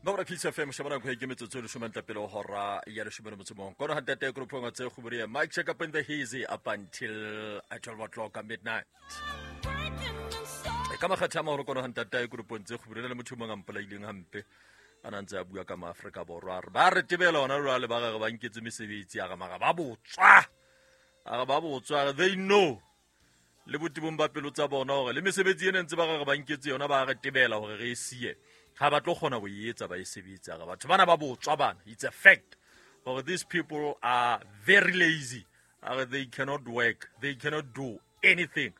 Ba bora Peace FM shebana go ke metsotso e leshome ntle pele ho hora ya leshome le motso mong. Kono ha ntate group tse go Mike check up in the hazy up until 12 o'clock at midnight. E ka makgetha a maholo kono ha ntate group tse go le motho mongwe a mpolaileng hampe a na ntse a bua ka maaforika borwa a re ba re tebela ona jwale ba gage ba nketse mesebetsi a re mara ba botswa a re ba botswa they know le botebong ba pelo tsa bona gore le mesebetsi e ne ntse ba gage ba nketse yona ba re tebela gore re e sie ga ba tlo kgona go e etsa ba e sebetse a re batho bana ba botswa bana. It's a fact gore these people are very lazy, a re they cannot work, they cannot do anything.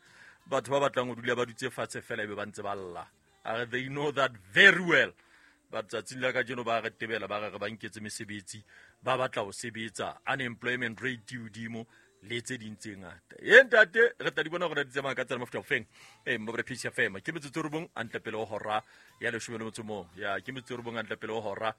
Batho ba batlang go dula ba dutse fatshe fela e be ba ntse ba lla, a re they know that very well. But tsatsing la kajeno ba re tebela ba re ba nketse mesebetsi ba batla ho sebetsa, unemployment rate e hodimo le tse ding tse ngata. E ntate re tla di bona gore di tsamaya ka tsela mofuta ofeng. E mo re Peace FM ke metsotso e robong a ntle pele ho hora ya leshome le motso mong. Ya ke metsotso e robong a ntle pele ho hora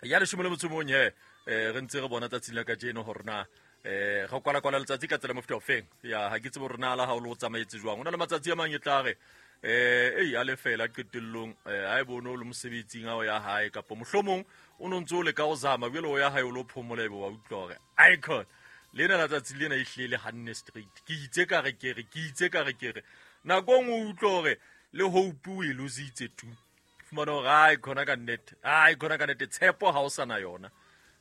ya leshome le motso mong. He re ntse re bona tsatsing la kajeno hore na ga kwala kwala letsatsi ka tsela mofuta ofeng. Ya ha ke tsebe hore na la ha o le o tsamaetse jwang. O na le matsatsi a mang e tla re ei a lefela qetellong ha e bone o le mosebetsing a o ya hae kapa mohlomong o no ntse o leka ho zama jwale o ya hae o lo phomola ebe wa utlwa hore icon lena la tsatsi lena e hlile le hanne straight. Ke itse ka re ke re ke itse ka re ke re nako e nngwe o utlwa hore le hope o e lositse tu fumana hore ai khona ka nnete, ai khona ka nnete tshepo ha o sana yona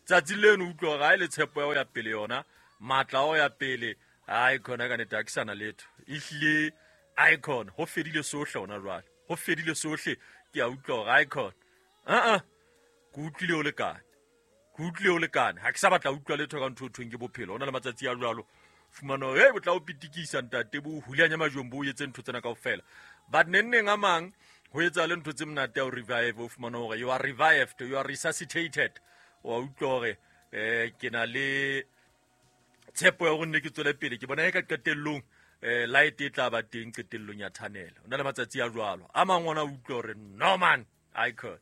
tsatsi leno utlwa hore ai le tshepo ya ho ya pele yona matla a ho ya pele ai khona ka nnete ha ke sana letho ehlile icon ho fedile sohle hona jwale ho fedile sohle. Ke a utlwa hore icon a ke utlwile o lekane, ke utlwile o lekane, ha ke sa batla utlwa letho ka ntho e thweng ke bophelo. Ho na le matsatsi a jwalo fumana hore hey, bo tla o pitikisa ntate bo hulanya majweng bo o etse ntho tsena kaofela. But neng neng a mang ho etsa le ntho tse monate ya ho revive, o fumana hore you are revived, you are resuscitated. Wa utlwa hore ke na le tshepo ya hore nne ke tswele pele, ke bona e ka qetellong light e tla ba teng qetellong ya tunnel. O na le matsatsi a jwalo a mang ona utlwa hore no man icon.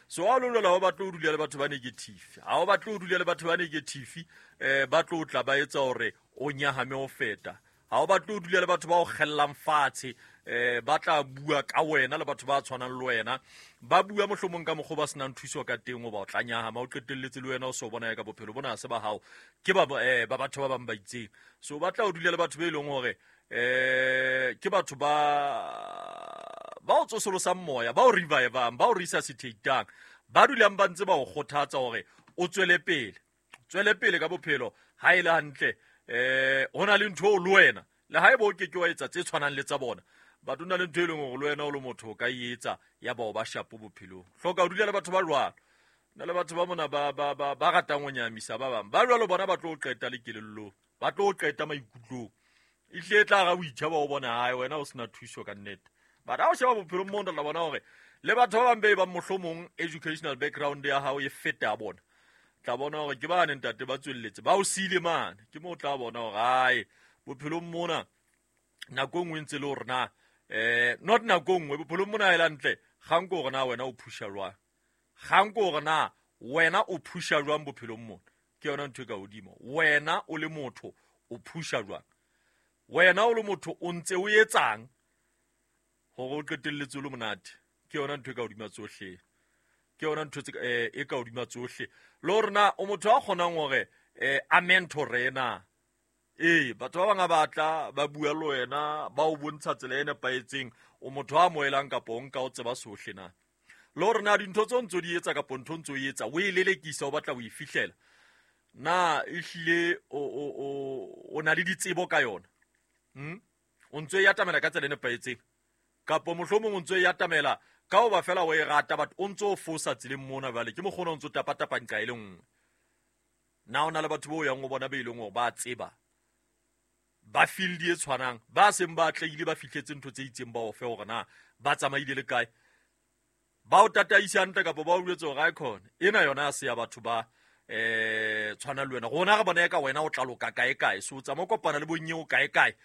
So ha o lo lwela, ha o batle ho dula le batho ba negative, ha o batle ho dula le batho ba negative ba tlo tla ba etsa hore o nyahame ho feta. Ha o batle ho dula le batho ba o kgellang fatshe ba tla bua ka wena le batho ba tshwanang le wena ba bua mohlomong ka mokgwa ba senang thuso ka teng, o ba o tla nyahama o qetelletse le wena o so bona ya ka bophelo bona ha se ba hao ke ba ba batho ba bang ba itseng. So ba tla o dula le batho be leng hore ke batho ba ba o tsosolosang moya, ba o revivang, ba o resuscitatang, ba dulang ba ntse ba o kgothatsa hore o tswele pele, tswele pele ka bophelo. Ha e le hantle ho na le ntho o le wena le ha eba o ke ke wa etsa tse tshwanang le tsa bona, but o na le ntho e leng hore le wena o le motho o ka e etsa ya bao ba shapo bophelong. Hloka ho dula le batho ba jwalo. Na le batho ba mona ba ba ba ba ratang ho nyamisa ba bang ba jwalo, bona ba tlo o qeta le kelellong, ba tlo o qeta maikutlong. Ehlile e tla ra o itjheba o bona hae wena o sena thuso ka nnete. But ha o sheba bophelong mo tla bona hore le batho ba bang be bang mohlomong educational background ya hao e feta ya bona, tla bona hore ke bane ntate ba tswelletse ba o siile mane. Ke mo tla bona hore hae bophelong mona nako e nngwe ntse le hore na not nako e nngwe bophelong mona e hantle kgang ke hore na wena o phusha jwang, kgang ke hore na wena o phusha jwang bophelong mona. Ke yona ntho e ka hodimo, wena o le motho o phusha jwang, wena o le motho o ntse o etsang hore o qetelletse o le monate. Ke yona ntho e ka hodima tsohle, ke yona ntho e ka hodima tsohle. Le hore na o motho a kgonang hore a mentore na. Ee, batho ba bang a batla ba bua le wena ba o bontsha tsela e nepahetseng, o motho a amohelang kapa o nka o tseba sohle na. Le hore na dintho tseo ntso di etsa kapa ntho ntso e etsa o e lelekisa o batla ho e fihlela na ehlile o na le ditsebo ka yona, o ntso e atamela ka tsela e nepahetseng kapa mohlomong o ntso e atamela ka hoba fela o e rata but o ntso o fosa tseleng mona. Jwale ke mokgona o ntso tapa-tapa nqa e le nngwe. Na o na le batho bo yang o bona be leng hore ba tseba ba field e tshwanang, ba seng ba atlehile, ba fihletse ntho tse itseng, ba o fe hore na ba tsamaile le kae, ba o tataise hantle kapa ba o jwetse hore icon ena yona ha se ya batho ba tshwana le wena. Rona re bona ka wena o tla loka kae kae, so o tsamaya o kopana le bonyeo kae kae,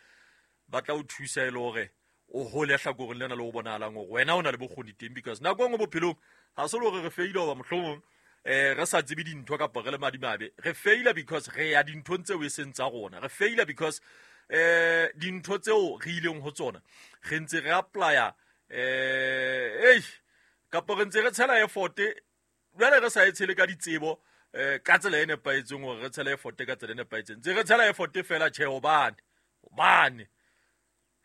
ba tla o thusa e le hore o hole hlakoreng lena le o bonahalang hore wena o na le bokgoni teng. Because nako e nngwe bophelong ha se le hore re feile hoba mohlomong re sa tsebe dintho kapa re le madimabe, re feila because re ya dinthong tseo e seng tsa rona, re feila because dintho tseo re ileng ho tsona re ntse re applya ei kapa re ntse re tshela effort. Jwale re sa e tshele ka ditsebo ka tsela e nepahetseng hore re tshele effort ka tsela e nepahetseng. Ntse re tshela effort fela tjhe hobane hobane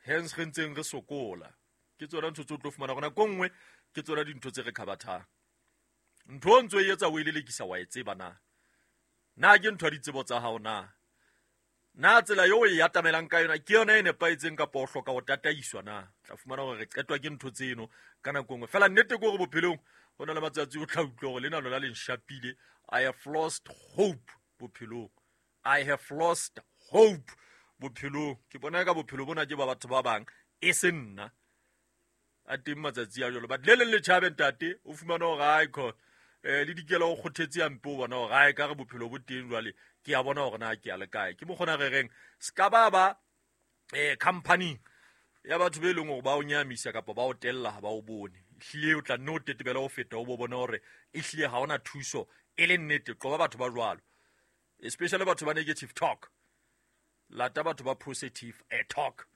hence re ntseng re sokola. Ke tsona ntho tse o tlo fumana hore nako e nngwe ke tsona dintho tse re khabathang. Ntho o ntso e etsa o e lelekisa wa e tseba na? Na ke ntho ya ditsebo tsa hao na? Na tsela eo o e atamelang ka yona ke yona e nepahetseng kapa o hloka ho tataiswa na? Tla fumana hore re qetwa ke ntho tseno ka nako e nngwe. Fela nnete ke hore bophelong ho na le matsatsi o tla utlwa hore lena lona le nshapile. I have lost hope bophelong. I have lost hope bophelong. Ke bona ka bophelo bona ke ba batho ba bang e se nna. A teng matsatsi a jwalo. But le leng le tjhabe ntate o fumana hore ai kho le dikela o kgothetse hampe o bona hore ai ka re bophelo bo teng jwale ke a bona hore na ke a le kae. Ke mokgona re reng ska ba ba company ya batho be leng hore ba o nyamisa kapa ba o tella ha ba o bone. Ehlile o tla nne o tetebele ho feta o bo bone hore ehlile ha ona thuso e le nnete. Qoba batho ba jwalo, especially batho ba negative talk. Lata batho ba positive talk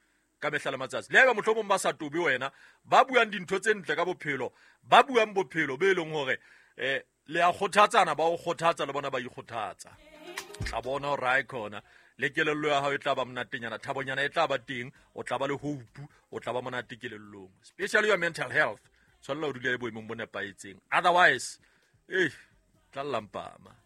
ka mehla le matsatsi. Le haeba mohlomong ba sa tobe wena, ba buang dintho tse ntle ka bophelo, ba buang bophelo be leng hore le a kgothatsana, ba o kgothatsa le bona ba ikgothatsa. Tla bona hore ae khona le kelello ya hao e tla ba monatenyana, thabonyana e tla ba teng, o tla ba le hope, o tla ba monate kelellong, especially your mental health. Tshwanela ho dula e boemong bo nepahetseng, otherwise tla llampama.